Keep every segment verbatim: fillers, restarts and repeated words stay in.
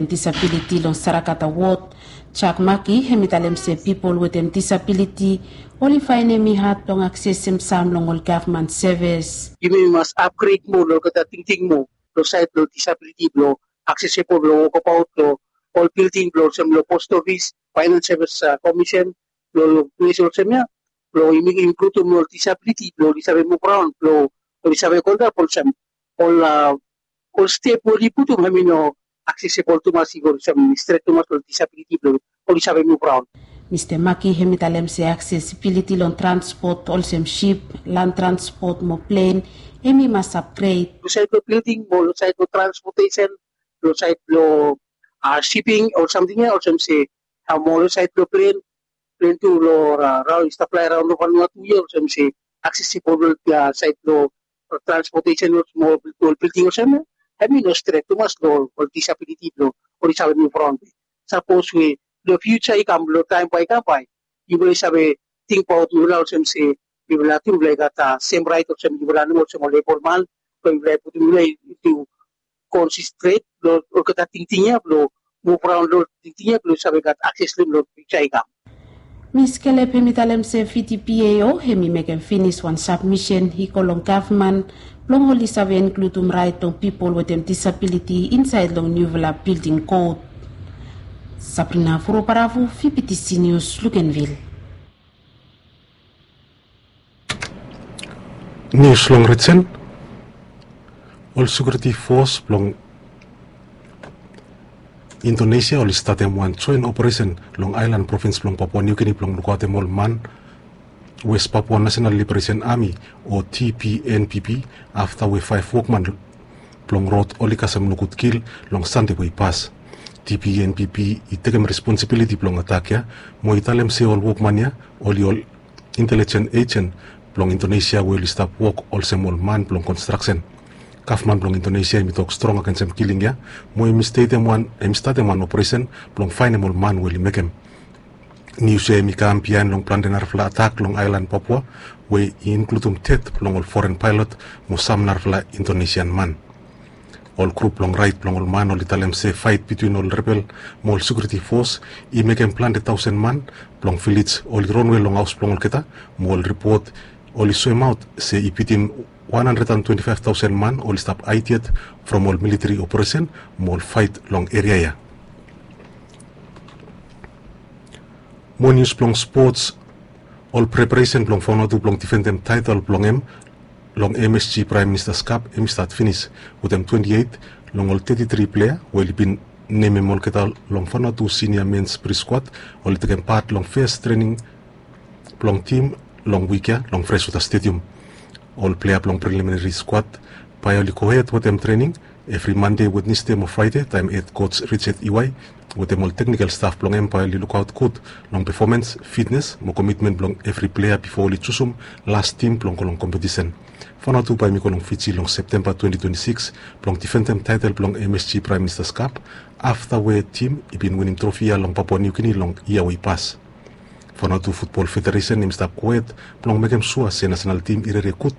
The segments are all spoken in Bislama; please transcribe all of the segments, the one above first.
Disabiliti long Sarakata wod, Jack Maki, hem i talem se pipol wetem disabiliti oli faenem i had blong aksesem sam long ol gavman sevis. Yumi mas apgred moa long olgeta tingting moa long saed blong disabiliti blong aksesebol blong wokabaot long ol bilding blong olsem long post ofis, faenans sevis komisen, long ples olsem ya, blong yumi inkludum ol disabiliti blong oli save muv raon, blong oli save go antap olsem ol ol step we oli putum hem i no aksesebol tumas, i go olsem stret tumas long disabiliti blong oli save muv raon. Mista Maki hem i talem se aksesibiliti long transpot olsem sip, lan transpot mo plen, hem i mas apgred. Long saed blong bilding mo long saed blong transpotesen, long saed blong siping o samting ya, olsem se mo long saed blong plen, plen tu long raon i stap flae raon long Vanuatu ya, olsem se aksesebol long saed blong transpotesen o smol ol bilding olsem ya, hem i no stret tumas long ol disabiliti blong oli save muv raon. Sapos we long fiuja i kam, long taem bae i kam bae, yufala i save tingbaot mifala olsem se mifala tu mifala i gat sem raet olsem yufala nomo olsem ol ebolman, blong mifala i putum mifala i tu konsistret long olgeta tingting ya blong muv raon long tingting ya blong save gat akses long fiuja i kam. Mis Kelep hem i talem se V T P A O hem i mekem finis wan sabmisen i go long gavman blong oli save inkludum raet blong pipol wetem disabiliti insaed long niufala bilding kod. Sabrina Furobaravu, V B T C News, Luganville. Nius long rijen. Ol sekiuriti fos blong Indonesia oli statem wan joen operesen long aelan provins blong Papua Niugini blong lukaotem ol man West Papua National Liberation Army o T P N P P afta we faef wokman blong rod oli kasem nogud kil long Sande we i pas. T P N P P i tekem responsibiliti blong atak ya mo i talem se ol wokman ya oli ol intelijen ejen blong Indonesia we oli stap wok olsem ol man blong konstraksen. Gavman blong Indonesia hem i tok strong agensem kiling ya mo hem i statem wan, hem i statem wan operesen blong faenem ol man we oli mekem. Nius ya hem i kam biaen long plante narafala atak long aelan Papua we i inkludum ded blong ol foren paelot mo sam narafala Indonesian man. Ol grup blong raet blong ol man oli talem se faet bitwin ol rebel mo ol sekiuriti fos i mekem plante taosen man blong vilej oli ronwe long haos blong olgeta, mo ol ripot oli soemaot se i bitim wan handred an twenti faef taosen man oli stap haed yet from ol militeri operesen mo ol faet long eria ya. Mo nius blong spots, ol preparesen blong Vanuatu blong difendem taetel blong hem long M S G Praem Ministas Kap hem i stat finis wetem twenti eit long ol teti tri plea we oli bin nemem olgeta long Vanuatu sinia mens pri skuad oli tekem pat long fes trening blong tim long wik ya long Freswota Stedium. Ol plea blong preliminari skuad bae oli gohed wetem trening evri Mande, Wednesde mo Fraede taem hed koj Richard Iwai wetem ol teknikel staf blong hem bae oli lukaot gud long pefomans, fitnes mo komitmen blong evri plea bifo oli jusum las tim blong go long kompetisen. Vanuatu bae hem i go long Fiji long Septemba twenti twenti sikis blong difendem taetel blong M S G Praem Ministas Kap afta we tim i bin winim trofi ya long Papua Niugini long yia we i pas. Vanuatu Futbol Federesen hem i stap gohed blong mekem sua se nasenal tim i rere gud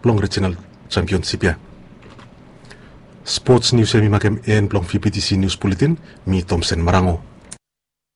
blong rijinal jampionsip ya. Spots nius ya hem i makem en blong V B T C Nius Buletin. Mi Tomsen Marango.